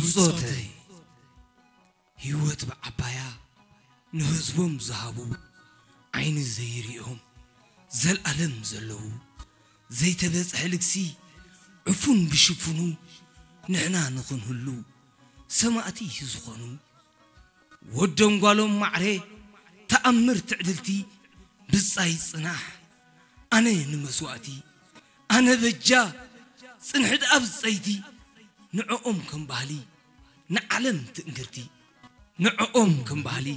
ብጾተይ ህይወት ብዓባያ ንህዝቦም ዝሃቡ፣ ዓይኒ ዘይርእዮም ዘልኣለም ዘለዉ፣ ዘይተበጽሐ ልግሲ ዕፉን ብሽፉኑ ንሕና ንኽንህሉ ሰማእቲ ዝኾኑ፣ ወዶም ጓሎም ማዕረ ተኣምር ትዕድልቲ፣ ብጻይ ጽናሕ ኣነ ንመስዋእቲ፣ ኣነ በጃ ጽንሕት ኣብ ጸይቲ፣ ንዕኦም ከም ባህሊ ንዓለም ትእንግርቲ፣ ንዕኦም ከም ባህሊ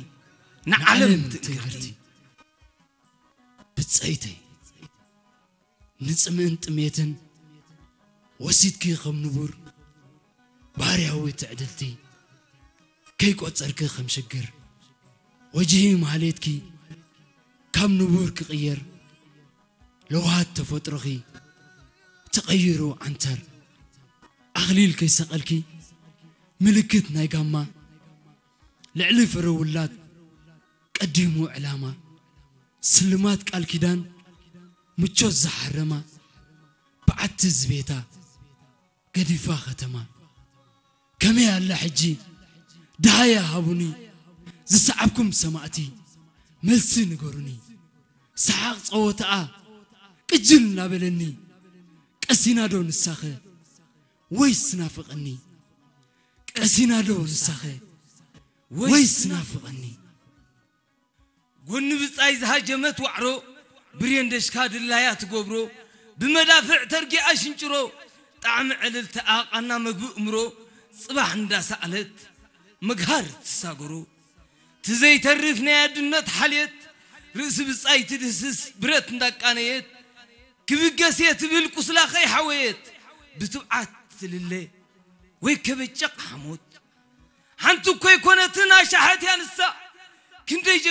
ንዓለም ትእንግርቲ። ብጸይተይ ንጽምእን ጥሜትን ወሲድኪ ከም ንቡር ባርያዊ ትዕድልቲ፣ ከይቆጸርኪ ከም ሽግር ወጅሂ ማህሌትኪ ካብ ንቡር ክቕየር፣ ለውሃት ተፈጥሮኺ ተቐይሩ ዓንተር፣ ኣኽሊል ከይሰቐልኪ ምልክት ናይ ጋማ፣ ልዕሊ ፍረ ውላድ ቀዲሙ ዕላማ፣ ስልማት ቃል ኪዳን ምቾት ዝሓረማ፣ በዓቲ ዝቤታ ገዲፋ ከተማ። ከመይ ኣላ ሕጂ ደሃያ ሃቡኒ፣ ዝሰዓብኩም ሰማእቲ መልሲ ንገሩኒ። ሰሓቕ ጸወታኣ ቅጅል እናበለኒ፣ ቀሲና ዶ ንሳኸ ወይስ ናፍቐኒ? ቀሲና ዶ ንሳኸ ወይስ ናፍቐኒ? ጎኒ ብጻይ ዝሃጀመት ዋዕሮ፣ ብሬን ደሽካ ድላያ ትገብሮ፣ ብመዳፍዕ ተርጊኣ ሽንጭሮ፣ ጣዕሚ ዕልልትኣ ቃና መግቢ እምሮ፣ ጽባሕ እንዳሰኣለት መግሃር ትሳገሮ። ትዘይተርፍ ናይ ኣድነት ሓልየት፣ ርእሲ ብጻይ ትድህስስ ብረት እንዳቃነየት፣ ክብገስ እየ ትብል ቁስላ ከይሓወየት፣ ብትብዓት ትልለ ወይ ከበጨቕ ሓሞት። ሓንቲ እኮ ኣይኮነትን ኣሻሓት እያ ንሳ፣ ክንደይ ጀጋ